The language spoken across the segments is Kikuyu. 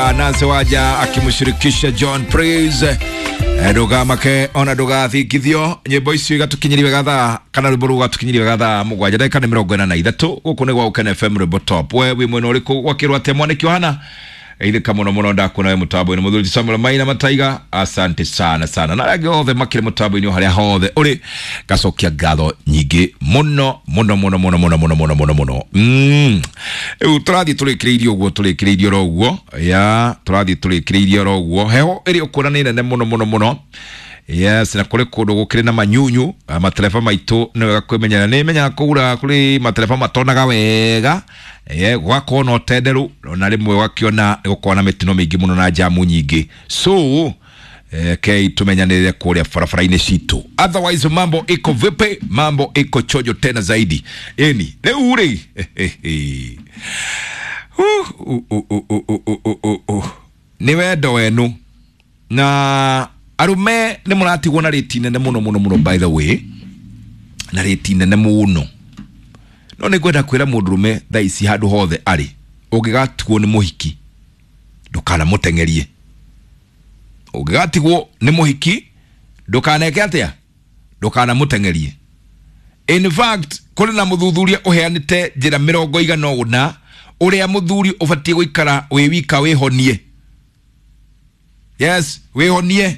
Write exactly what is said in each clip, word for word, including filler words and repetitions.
Ya Nancy Wanja akimshirikisha John Praise ndugamake ona ndugathingithio. Nyimbo icio igatukinyiria wega thaa kana rwimbo rũu rũgatukinyiria wega thaa mũgwanja ndagĩka nĩ mĩrongo ĩna na ithatũ. Gũkũ nĩ gwa Gũkena F M rwimbo top. We wĩ mwena ũrĩkũ gwakĩrwo atĩa mwanĩki ũhana ithika mũno mũno ndakuona we mũtambo-inĩ mũthuri Samuel Maina Mataiga, asante sana sana, na arĩa angĩ othe makĩrĩ mũtambo-inĩ o harĩa hothe ũrĩ, ngacokia ngatho nyingĩ mũno mũno mũno mũno mũno mũno mũno mũno mũno. Mm rĩu tũrathiĩ tũrĩkĩrĩirie ũguo, tũrĩkĩrĩirie oro ũguo, ya tũrathiĩ tũrĩkĩrĩirie oro ũguo. Heho ĩrĩ ũkuona nĩ nene mũno mũno mũno. Yes, na kũrĩ kũndũ gũkĩrĩ na manyunyu, matereba maitũ nĩ wega kwĩmenyerera. Nĩ menyaga kũgura kũrĩ matereba matonaga wega, eh gwakorwo na ũtenderũ na rĩmwe ũgakĩona nĩ gũkorwo na mĩtino mĩingĩ mũno na jamu nyingĩ, so eh, kei tumenyanĩrĩre kũrĩa barabara-inĩ citũ. Otherwise mambo iko vipi? Mambo iko chojo tena zaidi. Eni rĩu rĩ uh, uh, uh, uh, uh, uh, uh, uh. Nĩ wendo wenu na arume nĩ mũratigwo na rĩti nene mũno mũno mũno, by the way, na rĩti nene mũno. No nĩ ngwenda kwĩra mũndũrũme thaa ici handũ hothe arĩ, ũngĩgatigwo nĩ mũhiki ndũkanamũteng'erie. Ũngĩgatigwo nĩ mũhiki ndũkaneke atĩa? Ndũkanamũteng'erie. In fact, kũrĩ na mũthuthuria ũheanĩte njĩra mĩrongo igana ũna ũrĩa mũthuri ũbatiĩ gũikara wĩ wika wĩhonie. Yes, wĩhonie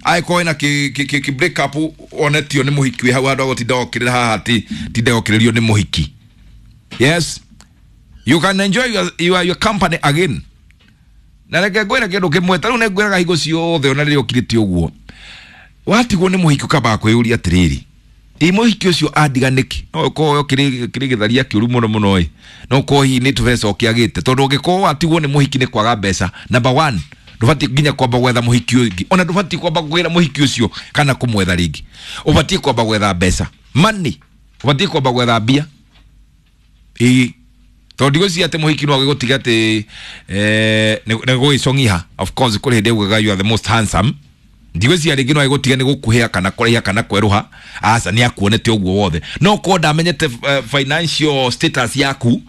angĩkorwo wĩna kĩ kĩ kĩ break up onetio nĩ mũhiki wĩ hau handũ agũtinda okĩrĩra haha ati tinda okĩrĩrio nĩ mũhiki. Yes, you can enjoy your, your, your company again. Na reke ngwĩre kĩndũ kĩmwe, ta rĩu nĩ ngwĩraga hingo ciothe ona rĩrĩa ũkirĩte ũguo, watigwo nĩ mũhiki ũkambaga kwĩyũria atĩrĩrĩ, ĩ mũhiki ũcio andiga nĩkĩ? No ũkorwo kĩrĩ kĩrĩ gĩtharia kĩũru mũno mũno ĩ, no ũkorwo hihi nĩ tũbeca ũkĩagĩte, tondũ ũngĩkorwo watigwo nĩ mũhiki nĩ kwaga mbeca, number one ndũbatiĩ nginya kwamba gwetha mũhiki ũngĩ, ona ndũbatiĩ kwamba kwĩra mũhiki ũcio kana kũmwetha rĩngĩ. Ũbatiĩ kwamba gwetha mbeca, money, ũbatiĩ kwamba gwetha mbia. Ĩĩ, tondũ ndigwĩciria atĩ mũhiki no agĩgũtiga atĩ eh, nĩ gũgĩcong'iha. Of course kũrĩ hĩndĩ augaga you are the most handsome. Ndigwĩciria rĩngĩ no agĩgũtiga nĩ gũkuhĩa kana kũraiha kana kwerũha, aca nĩ akuonete ũguo wothe. No korwo ndamenyete uh, financial status yaku,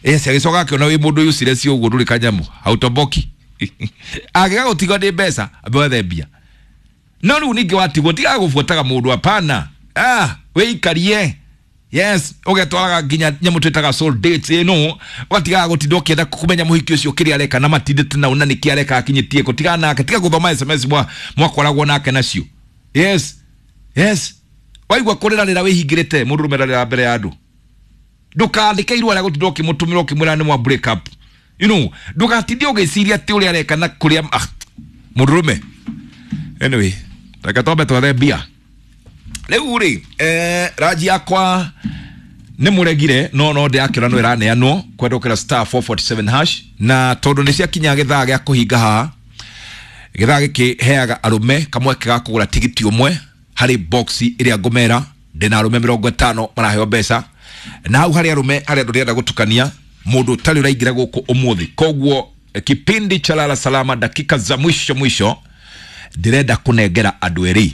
yes, agĩcoka akĩona wĩ mũndũ useless ũguo ndũrĩ kanyamũ, hautoboki, angĩgagũtiga nĩ mbeca ambe wethe mbia. No rĩu ningĩ watigwo tigaga gũbuataga mũndũ, hapana, ah, wĩikarie. Yes, ũgetwaraga nginya nyamũ twĩtaga soul dates ĩno, ũgatigaga gũtinda ũkĩenda kũmenya mũhiki ũcio kĩrĩa areka na matindĩte nau na nĩkĩ areka akinyĩtie kũ. Tigana nake, tiga gũthoma S M S mwa mwakoragwo nake nacio. Yes, yes, waigua kũrĩra rĩra wĩhingĩrĩte mũndũrũme rarĩra mbere ya andũ, ndũkandĩke irũa rĩa gũtinda ũkĩmũtũmĩra ũkĩmwĩra nĩ mwa break up. You know, ndũgatinde ũgĩciria atĩ ũrĩa areka na kũrĩa ah, mũndũrũme. Anyway, reke twambe twethe mbia rĩu rĩ. Eh, ranji yakwa nĩ mũregire no no ndĩrakĩona no ĩraneanwo kwendũkĩra star four forty-seven hash, na tondũ nĩ ciakinya gĩthaa gĩa kũhinga haha, gĩthaa gĩkĩ heaga arũme kamweke ga kũgũra tigiti ũmwe harĩ box ĩrĩa ngũmera. Ndĩna arũme mĩrongo ĩtano maraheo mbeca, na hau harĩ arũme harĩa andũ ndĩrenda gũtukania mũndũ ũtarĩ ũraingĩra gũkũ ũmũthĩ. Koguo kipindi cha Lala Salama dakika za mwisho mwisho ndĩrenda kũnengera andũ erĩ.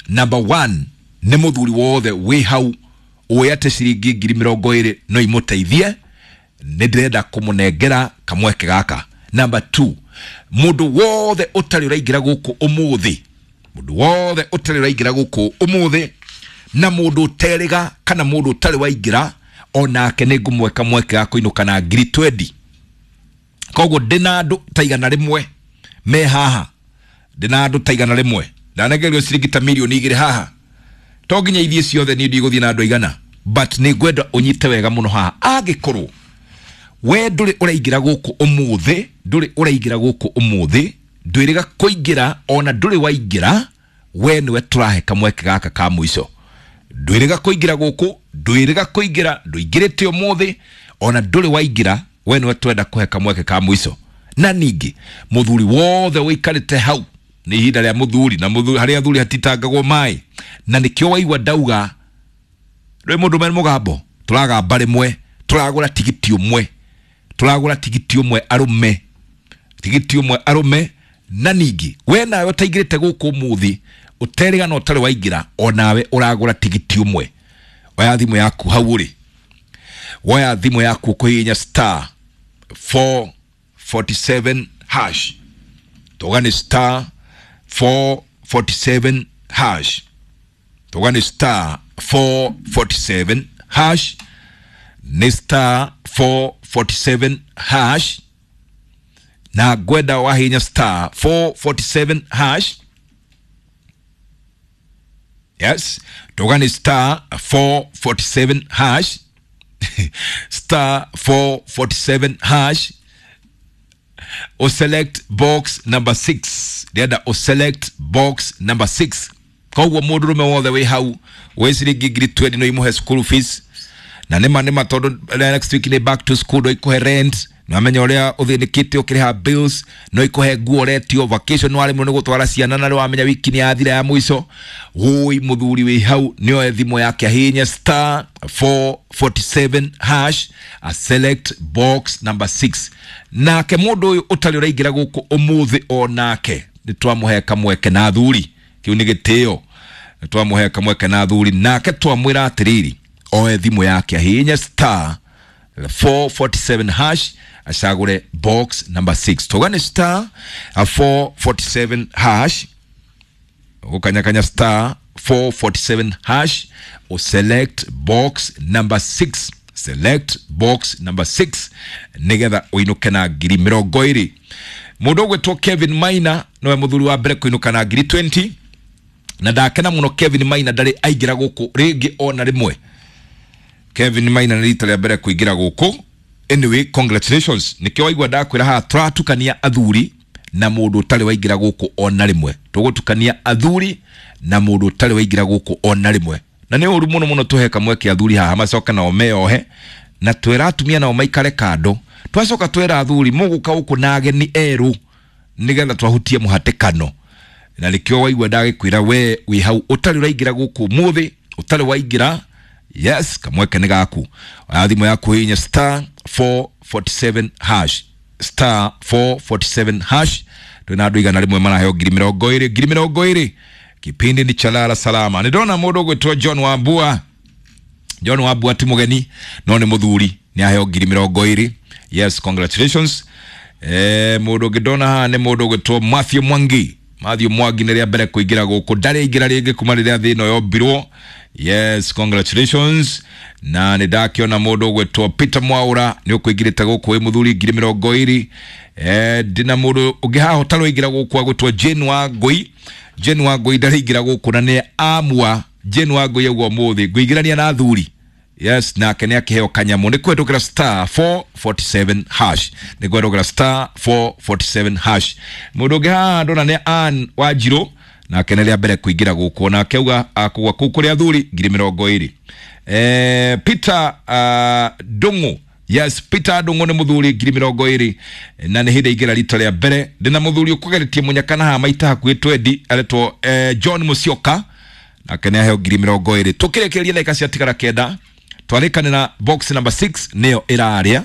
Number one nĩ mũthuri wothe wĩ hau ũĩ atĩ ciringi ngiri mĩrongo ĩrĩ no imũteithie, nĩ ndĩrenda kũmũnengera kamweke gaka. Number two, mũndũ wothe ũtarĩ ũraingĩra gũkũ ũmũthĩ, mũndũ wothe ũtarĩ ũraingĩra gũkũ ũmũthĩ na mũndũ ũterĩga kana mũndũ ũtarĩ waingĩra onake nĩ ngũmweka mweke ga kũinũka na ngiri twendi. Koguo ndĩna andũ ta igana rĩmwe me haha, ndĩna andũ ta igana rĩmwe ndanengerio ciringi ta mirioni igĩrĩ haha, to nginya ithiĩ ciothe niĩ ndigũthiĩ na andũ aigana, but nĩ ngwenda ũnyite wega mũno haha. Angĩkorwo we ndũrĩ ũraingĩra gũkũ ũmũthĩ, ndũrĩ ũraingĩra gũkũ ũmũthĩ, ndwĩrĩga kũingĩra ona ndũrĩ waingĩra, we nĩwe tũrahe kamweke gaka ka mũico. Ndwĩrĩga kũingĩra gũkũ, ndwĩrĩga kũingĩra, ndũingĩrĩte ũmũthĩ ona ndũrĩ waingĩra, we nĩwe twenda kũhe kamweke ka mũico. Na ningĩ mũthuri wothe ũikarĩte hau, nĩ ihinda rĩa mũthuri, na mũthuri harĩa athuri hatitangagwo maĩ, na nĩkĩo waigua ndauga rĩ mũndũ me mũgambo tũragamba rĩmwe, tũragũra tigiti ũmwe, tũragũra tigiti ũmwe arũme, tigiti ũmwe arũme. Na ningĩ we nawe ũtaingĩrĩte gũkũ ũmũthĩ ũterĩga na ũtarĩ waingĩra, onawe ũragũra tigiti ũmwe. Oya thimũ yaku hau ũrĩ, woya thimũ yaku ũkũhihinya star four forty-seven hash. Tuga ni star four forty-seven hash. Tuga ni star four forty-seven hash. Ni star four forty-seven hash. Na gwenda wahinya star four forty-seven hash. Yes, tuga ni star four forty-seven hash. Star four forty-seven hash. O select box number six. Ndĩrenda o select box number six. Koguo mũndũrũme wothe wĩ hau wĩ ciringi ngiri twenty no imũhe school fees. Na nĩma nĩma tondũ next week nĩ back to school, no ikũhe rent, nĩwamenya ũrĩa ũthĩnĩkĩte ũkĩrĩha bills, no ikũhe nguo ũretio vacation, nĩwaremwo nĩ gũtwara ciana na nĩwamenya wiki nĩ yathira ya mũico. Wũi mũthuri wĩ hau nĩoe thimũ yake ahihinye star four forty-seven hash, a select box number six. Nake mũndũ ũyũ ũtarĩ ũraingĩra gũkũ ũmũthĩ o nake nĩtwamũhe kamweke na athuri, kĩu nĩ gĩtĩo, nĩtwamũhe kamweke na athuri, nake twamwĩra atĩrĩrĩ oe thimũ yake ahihinye star four forty-seven hash, acagũre box number six. Tuga nĩ star four forty-seven hash, ũkanyakanya star four forty-seven hash, o select box number six. Select box number six nigetha ũinũke na ngiri mĩrongo ĩrĩ. Mũndũ ũgwĩtwo Kevin Maina nĩwe mũthuri wa mbere kũinũka na ngiri twenty, na ndakena mũno Kevin Maina ndarĩ aingĩra gũkũ rĩngĩ ona rĩmwe. Kevin Maina nĩ rita rĩa mbere kũingĩra gũkũ. Anyway, congratulations. Nĩkĩo waigua ndakwĩra haha tũratukania athuri na mũndũ ũtarĩ waingĩra gũkũ ona rĩmwe. Tũgũtukania athuri na mũndũ ũtarĩ waingĩra gũkũ ona rĩmwe. Na nĩ ũru mũno mũno tũhe kamweke athuri haha macoke nao meohe, na twĩra atumia nao maikare kando. Twacoka twĩra athuri mũgũka gũkũ na ageni erũ nĩgetha twahutie mũhatĩkano. Na nĩkĩo waigua ndagĩkwĩra we wĩ hau ũtarĩ ũraingĩra gũkũ ũmũthĩ, ũtarĩ waingĩra, yes, kamweke nĩ gaku. Oya thimũ yaku hihinya star four forty-seven hash, star four forty-seven hash. Twĩna andũ igana rĩmwe maraheo ngiri mĩrongo ĩrĩ, ngiri mĩrongo ĩrĩ. Kipindi ni cha Lala Salama. Nĩndona mũndũ ũgwĩtwo John Wambua. John Wambua ti mũgeni no nĩ mũthuri, nĩ aheo ngiri mĩrongo ĩrĩ. Yes, congratulations. Eh, mũndũ ũngĩ ndona haha nĩ mũndũ ũgwĩtwo Matthew Mwangi. Matthew Mwangi nĩ rĩa mbere kũingĩra gũkũ, ndarĩ aingĩra rĩngĩ kuma rĩrĩa thĩ ĩno yombirwo. Yes, congratulations. Na nĩ ndakĩona mũndũ ũgwĩtwo Peter Mwaura nĩ ũkũingĩrĩte gũkũ wĩ mũthuri ngiri mĩrongo ĩrĩ. Eh, ndĩna mũndũ ũngĩ haha ũtarĩ waingĩra gũkũ agwĩtwo Jane Wangũi. Jane Wangũi ndarĩ aingĩra gũkũ na nĩ amua Jane Wangũi auga ũmũthĩ ngũingĩrania na athuri. Yes, nake nĩ akĩheo kanyamũ. Nĩ kũhetũkĩra star four forty-seven hash. Nĩ kũhetũkĩra star four forty-seven hash. Mũndũ ũngĩ haha ndona nĩ Ann Wanjirũ, nake nĩ rĩa mbere kũingĩra gũkũ, nake auga akũgwa kũu kũrĩ athuri ngiri mĩrongo ĩrĩ. Eh, Peter uh, Ndung'u. Yes, Peter Ndung'u nĩ mũthuri ngiri mĩrongo ĩrĩ na nĩ hĩndĩ aingĩra rita rĩa mbere. Ndĩna mũthuri ũkũgeretie mũnyaka na haha maita hakuhĩ twendi, aretwo eh, John Musyoka, nake nĩ aheo ngiri mĩrongo ĩrĩ. Tũkĩrĩkĩrĩria ndagĩka ciatigara kenda, twarĩkanĩra box number six nĩyo ĩrarĩa,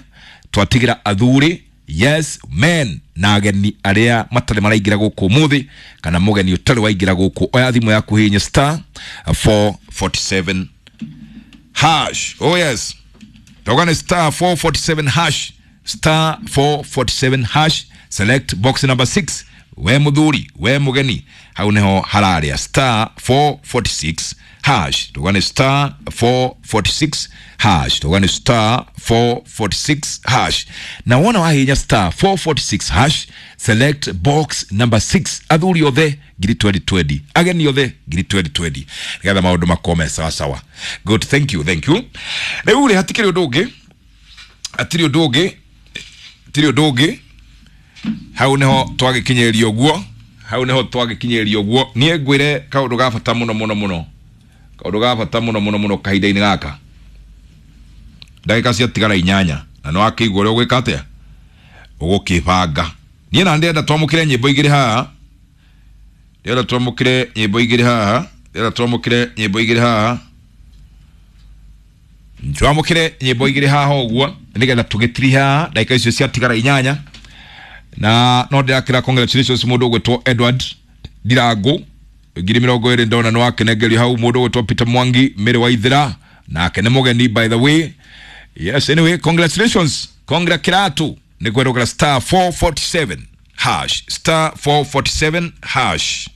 twatigĩra athuri, yes men, na ageni arĩa matarĩ maraingĩra gũkũ ũmũthĩ kana mũgeni ũtarĩ waingĩra gũkũ. Oya thimũ yaku hihinya star four forty-seven hash. Oh yes, Toka ni star four forty-seven hash, star four forty-seven hash, select box number six. We muthuri, we mugeni, hau niho hararia star four forty-six hash. Toka ni star four forty-six hash. Toka ni star four forty-six hash. Na wona wahinya star four forty-six hash, select box number six. Athuri othe ngiri twenty twenty, ageni othe ngiri twenty twenty, nigetha maundu makome sawa sawa. Good, thank you, thank you. Riu ri hatikiri undu ungi, hatiri undu ungi, hatiri undu ungi. Hau niho twagikinyĩrio guo, hau niho twagikinyĩrio guo. Niĩ ngwĩre kaũndũ ga bata mũno mũno mũno, kaũndũ ga bata mũno mũno mũno kahinda-inĩ gaka. Ndagĩka ciatigara inyanya na nĩ wakĩigua ũrĩa ũgwĩka atĩa, ũgũkĩbanga. Niĩ na ndĩrenda twamũkĩre nyĩmbo igĩrĩ haha, ndĩrenda twamũkĩre nyĩmbo igĩrĩ haha, ndĩrenda twamũkĩre nyĩmbo igĩrĩ haha, twamũkĩre nyĩmbo igĩrĩ haha ũguo nĩgetha tũgĩtiriha ndagĩka icio ciatigara inyanya. Na no ndĩrakĩra congratulations mũndũ ũgwĩtwo Edward Ndirangu ngiri mĩrongo ĩrĩ ndona nĩ wakenengerio hau. Mũndũ ũgwĩtwo Peter Mwangi Mĩrĩ wa Ithira nake nĩ mũgeni by the way. Yes, anyway, congratulations, congra kiratu Nĩ kwerũkĩra star four forty-seven hash, star four forty-seven hash.